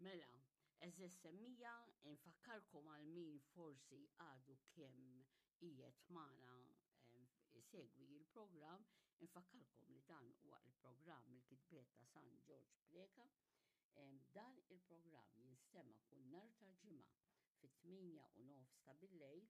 Mela, eżess semmija, infakkarkom għal min forsi għadu kemm qiegħed magħna isegwi il-programm, infakkarkom li dan huwa il-programm il-kitbiet ta' San Ġorġ Preca. Dan il-programm jinstema' kull nhar ta' Ġimgħa fit-8 u nofs ta' billejl,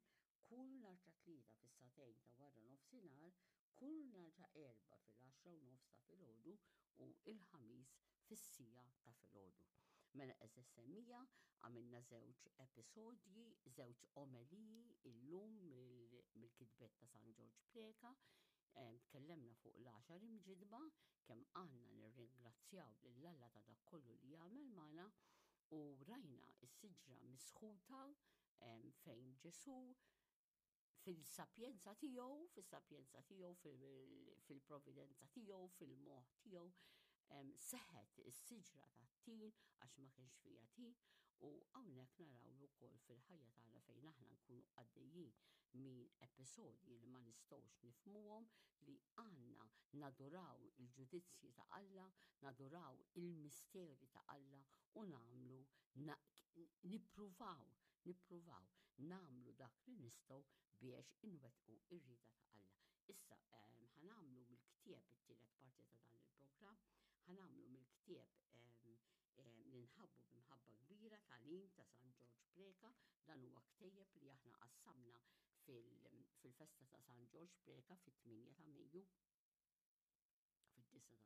kull nhar ta' Tlieta fis-sagħtejn ta' wara nofsinhar, kull nhar ta' Erbgħa fil-għaxra u nofs ta' filgħodu u il-Ħamis fis-siegħa ta' filgħodu. Mela għeżież semmiegħa, għamilna żewġ episodji, żewġ omeliji illum mill-kitbiet ta' San Ġorġ Preca. Tkellemna fuq l-għaxar imġidba, kemm għandna nirringrazzjaw lil Alla ta' dak kollu li jagħmel magħna u rajna s-siġra misħuta fejn Ġesù fil-sapjenza tiegħu, fis-sapjenza tiegħu, fil-providenza tiegħu, fil-moħħ tiegħu, seħet is-siġra tat-tin għax ma kienx fija tin u hawnhekk naraw ukoll fil-ħajja tagħna fejn aħna nkunu għaddejjin minn episodji li ma nistgħux nifhmuhom li għandna naduraw il-ġudizzji ta' Alla, naduraw il-misteri ta' Alla u nagħmlu nippruvaw nippruvaw nagħmlu dak li nistgħu biex inwettqu ir-rieda ta' Alla. Issa ħanamlu mill-ktieb it-tielet parti ta' dan il-programm, ħanamlu mill-ktieb li nħabbu b'imħabba kbira tagħlim ta' San Ġorġ Preca, dan huwa ktejjeb li aħna qassamna fil-festa ta' San Ġorġ Preca fit-8 ta' Mejju fid-9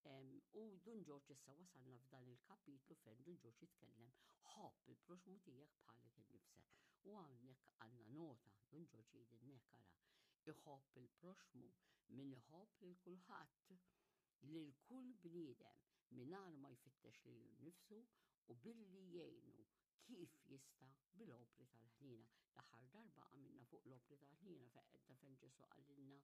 ta' Mejju. U Dun Ġorġ issa wasalna f'dan il-kapitlu fejn Dun Ġorġ jitkellem ħobb il-proxmu tiegħek bħalek innifsek. U hawnhekk għandna nota, Dun Ġorġ jgħidilna ara, iħobb il-proxmu min iħobb lil kulħadd lil kull bniedem mingħajr ma jfittex lilu nnifsu u billi jgħinu kif jista' bil-opri tal-ħniena. L-aħħar darba għamilna fuq l-opri tal-ħniena fejn fejn Ġesù qalilna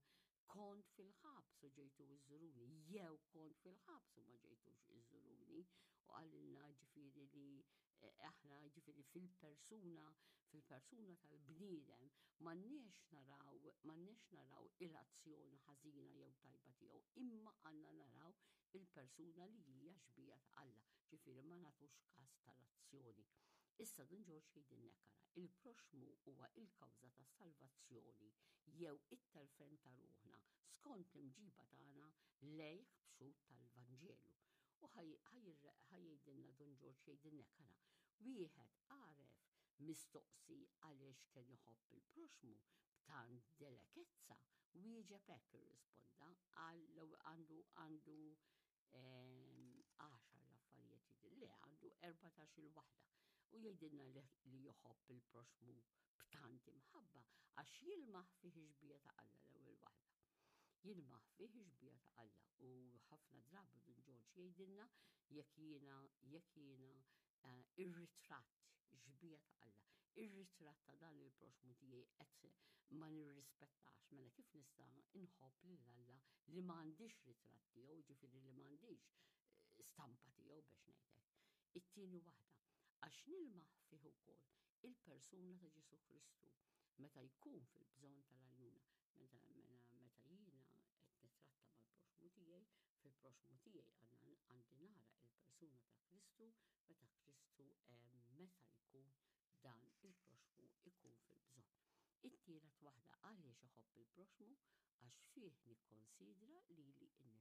kont fil-ħabs u ġejtu iżżuruni, jew kont fil-ħabs u ma ġejtux iżżuruni, u qalilna ġifieri li eh, aħna ġifieri fil-persuna, fil-persuna tal-bniedem, m'għandniex naraw, m'għandniex naraw il-azzjoni ħażina jew tajba tiegħu, imma għandna naraw il-persuna li hija xbija ta' Alla, ġifieri ma nagħtux każ tal-azzjoni. Issa Dun Ġorġ jgħidilna ara, il-proxmu huwa il-kawża tas-salvazzjoni jew it-telfen ta' ruħna skont l-imġiba tagħna lejh b'xhud tal-Vanġelu. U ħa jgħidilna Dun Ġorġ jgħidilna ara, wieħed għaref mistoqsi għaliex kien iħobb il-proxmu b'tant delekezza, wieġeb hekk irrisponda għal għandu għandu għaxar l-affarijiet jidil, le għandu 14 il-waħda u jgħidilna li joħobb il-proxmu b'tant imħabba għax jilmaħ fih xbija ta' Alla l-ewwel waħda. Jilmaħ fih xbija ta' Alla u ħafna drabi Dun Ġorġ jgħidilna jekk jiena jekk jiena eh, ir-ritratt xbija ta' Alla, ir-ritratt ta' dan il-proxmu tiegħi qed ma nirrispettax, mela kif nista' nħobb lil Alla li m'għandix ritratt tiegħu, ġifieri li m'għandix eh, stampa tiegħu biex ngħidlek. It-tieni waħda, għax nilmaħ fih ukoll il-persuna ta' Ġesu Kristu meta jkun fil-bżonn tal-għajnuna. Meta meta jiena qed nitratta mal-proxmu tiegħi, fil-proxmu tiegħi għandi nara il-persuna ta' Kristu meta Kristu eh, meta jkun dan il-proxmu ikun fil-bżonn. It-tielet waħda għaliex iħobb il-proxmu għax fih nikkonsidra lili nnifsi.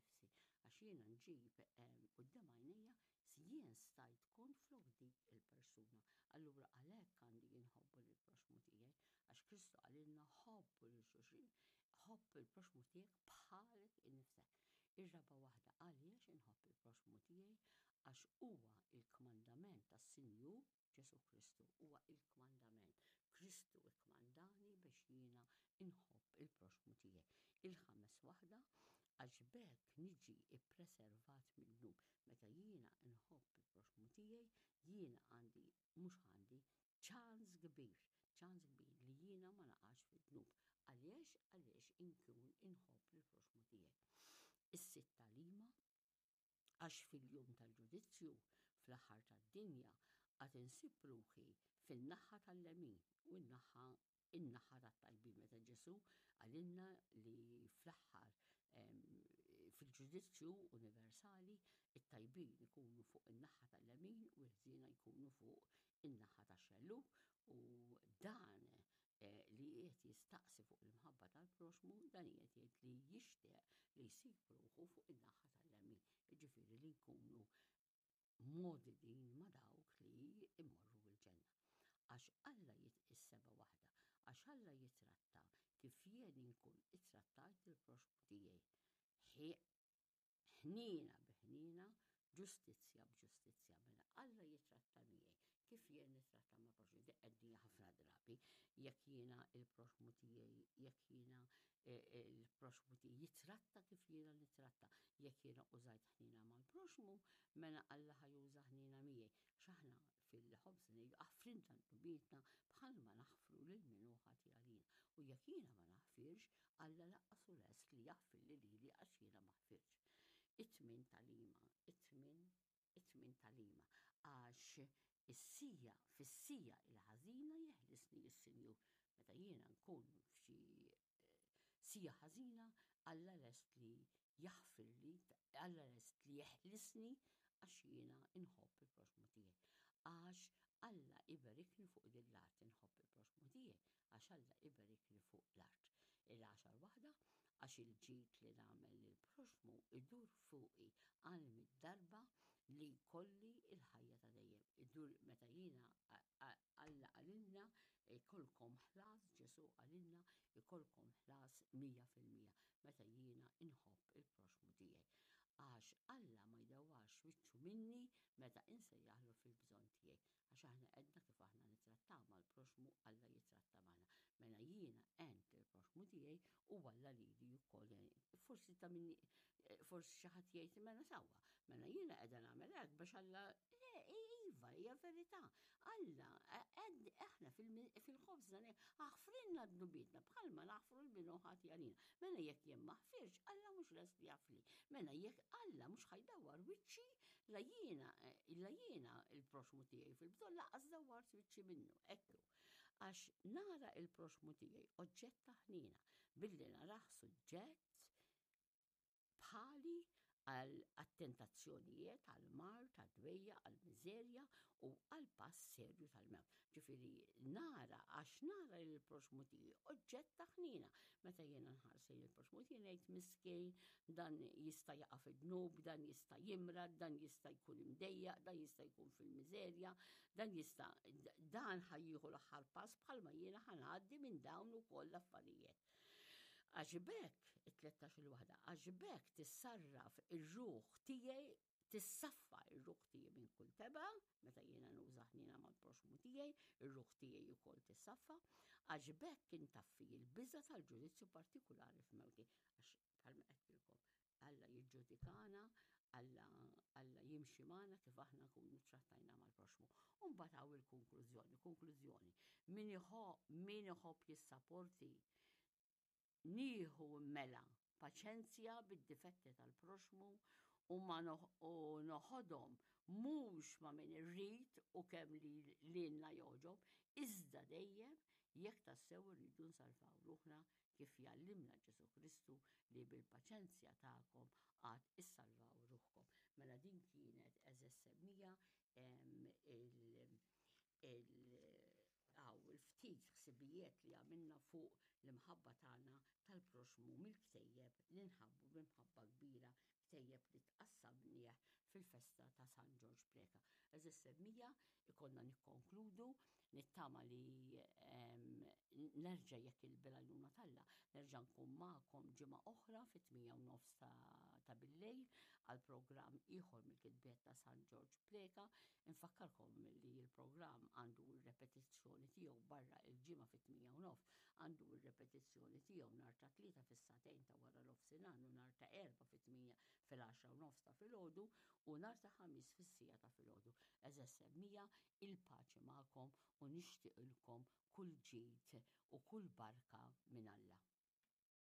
Għax jiena nġib eh, quddiem għajnejja jien stajt kont flok dik il-persuna. Allura għalhekk għandi jinħobbu lil proxmu tiegħi, għax Kristu qalilna ħobbu lil xulxin, ħobb il-proxmu tiegħek bħalek innifsek. Ir-raba waħda għaliex inħobb il-proxmu tiegħi għax huwa il-kmandament tas-Sinjur Ġesù Kristu huwa il-kmandament. Kristu ikkmandani biex jiena inħobb il-proxmu tiegħi. Il-ħames waħda għax b'hekk niġi ippreservat mid-dnub. Meta jiena nħobb il-proxmu tiegħi, jiena għandi mhux għandi ċans kbir, ċans kbir li jiena ma naqax fid-dnub. Għaliex? Għaliex inkun inħobb il-proxmu tiegħi. Is-sitt tagħlima Għax fil-jum tal-ġudizzju, fl-aħħar tad-dinja, għad insib ruħi fin-naħa tal-lemin u n-naħa in-naħa tat-tajbin meta Ġesù qalilna li fl-aħħar Fil-ġudizzju universali, it-tajbin ikunu fuq in-naħa tal-lemin u l-ħżiena jkunu fuq in-naħa tax-xellug u dan eh, li qiegħed jistaqsi fuq l-imħabba tal-proxmu, dan qiegħed jgħid li jixtieq li jsib ruħu fuq in-naħa tal-lemin, jiġifieri li nkunu mogħdidin ma' dawk li jmorru l-ġenna. Għax Alla jit is-seba' waħda, għax Alla jitratta kif jien inkun ittrattajt il-proxmu tiegħi. Ħniena bi ħniena, ġustizzja b'ġustizzja. Mela Alla jitratta miegħi kif jien nitratta ma' proxmu. Di qegħdin ħafna drabi jekk jiena il-proxmu tiegħi, jekk jiena eh, eh, il-proxmu tiegħi jitratta kif jiena nitratta. Jekk jiena użajt ħniena mal-proxmu, mela Alla ħa juża ħniena miegħi. X'aħna fil-ħobż ngħidu aħfrilna dnubietna bħalma naħfru lil min hu ħati għalina. U jekk jiena ma naħfirx, Alla lanqas hu lest li jaħfirli lili għax jiena ma ħfirtx. It-tmien tagħlima, it-tmien, it-tmien tagħlima, għax is-sija, fis-sija il-ħażina jeħlisni s-Sinjur. Meta jiena nkun f'xi eh, sija ħażina, Alla lest li jaħfirli, Alla lest li jeħlisni għax jiena inħobb il-proxmu tiegħi. Għax Alla iberikni fuq din l-art inħobb il-proxmu tiegħi, għax Alla iberikni fuq l-art. Il-għaxar waħda, għax il-ġid li nagħmel lill-proxmu idur fuqi għal mid-darba li jkolli il-ħajja ta' dejjem. Idur meta jiena Alla qalilna jkollkom ħlas, Ġesù qalilna jkollkom ħlas 100% meta jiena inħobb il-proxmu tiegħi. Għax Alla ma jdewwarx wiċċu minni meta insejjaħlu fil-bżonn tiegħi. Għax aħna għedna kif aħna nittrattaw mal-proxmu Alla jitratta magħna. Mela jiena għent il-proxmu tiegħi u Alla lili wkoll. Forsi ta' minni forsi xi ħadd jgħid mela sewwa, mela jiena qiegħda nagħmel hekk biex Alla le iva hija verità. Alla aħna fil-ħobżna aħfrilna dnubietna bħalma naħfru l min hu ħati għalina. Mela jekk jien ma ħfirx, Alla mhux lest li jafli. Mela jekk Alla mhux ħajdawwar wiċċi la jiena la jiena il-proxmu tiegħi fil-bżonn laqas dawwart wiċċi minnu. Ekku. Għax nara il-proxmu tiegħi oġġett ta' ħniena billi narah suġġett bħali għal tentazzjonijiet, għal mard, għal dwejja, għal miżerja u għal pass serju tal-mewt. Ġifieri nara għax nara lil proxmu tiegħi oġġett ta' ħniena. Meta jiena nħares lejn il-proxmu tiegħi ngħid miskin, dan jista' jaqa' fid-dnub, dan jista' jimrad, dan jista' jkun imdejjaq, dan jista' jkun fil-miżerja, dan jista' dan ħa jieħu l-aħħar pass bħalma jiena ħa ngħaddi minn dawn ukoll l-affarijiet. Għax b'hekk, it-13 il-waħda, għax b'hekk tissarraf ir-ruħ tiegħi, tissaffa ir-ruħ tiegħi minn kull teba, meta jiena nuża ħniena mal-proxmu tiegħi, ir-ruħ tiegħi wkoll tissaffa, għax b'hekk intaffi l-biża' tal-ġudizzju partikulari f'mewti. Għax bħalma qedtilkom, Alla jiġġudikana, Alla, Alla jimxi magħna kif aħna nkunu trattajna mal-proxmu. U mbagħad hawn il-konklużjoni, konklużjoni. Min min iħobb jissaporti nieħu mela paċenzja bid-difetti tal-proxmu u ma noħodhom mhux ma' min irrid u kemm li lilna jogħġob, iżda dejjem jekk tassew irridu nsalvaw ruħna kif jgħallimna Ġesù Kristu li bil-paċenzja tagħkom għad issalvaw ruħkom. Mela din kienet għeżież semmija il il-ftit ħsibijiet li għamilna fuq l-imħabba tagħna tal-proxmu mill-ktejjeb li nħabbu b'imħabba kbira, ktejjeb li tqassamnieh fil-festa ta' San Ġorġ Preca. Għeżież semmija, ikollna nikkonkludu, nittama li nerġa' jekk il-bil-għajnuna t'Alla, nerġa' nkun magħkom ġimgħa oħra fit-8 u nofs ta' billejl għal programm ieħor mill-kitbiet ta' San Ġorġ Preca. Infakkarkom li l-programm għandu r-repetizzjoni tiegħu barra il-ġimgħa fit-8 u nofs, għandu r-repetizzjoni tiegħu nhar ta' Tlieta fis-sagħtejn ta' wara nofsinhar u nhar ta' Erbgħa fit-8 fil-10 u nofs ta' filgħodu u nhar ta' Ħamis fis-siegħa ta' filgħodu. Għeżież semmija, il-paċi magħkom u nixtieqilkom kull ġid u kull barka minn Alla.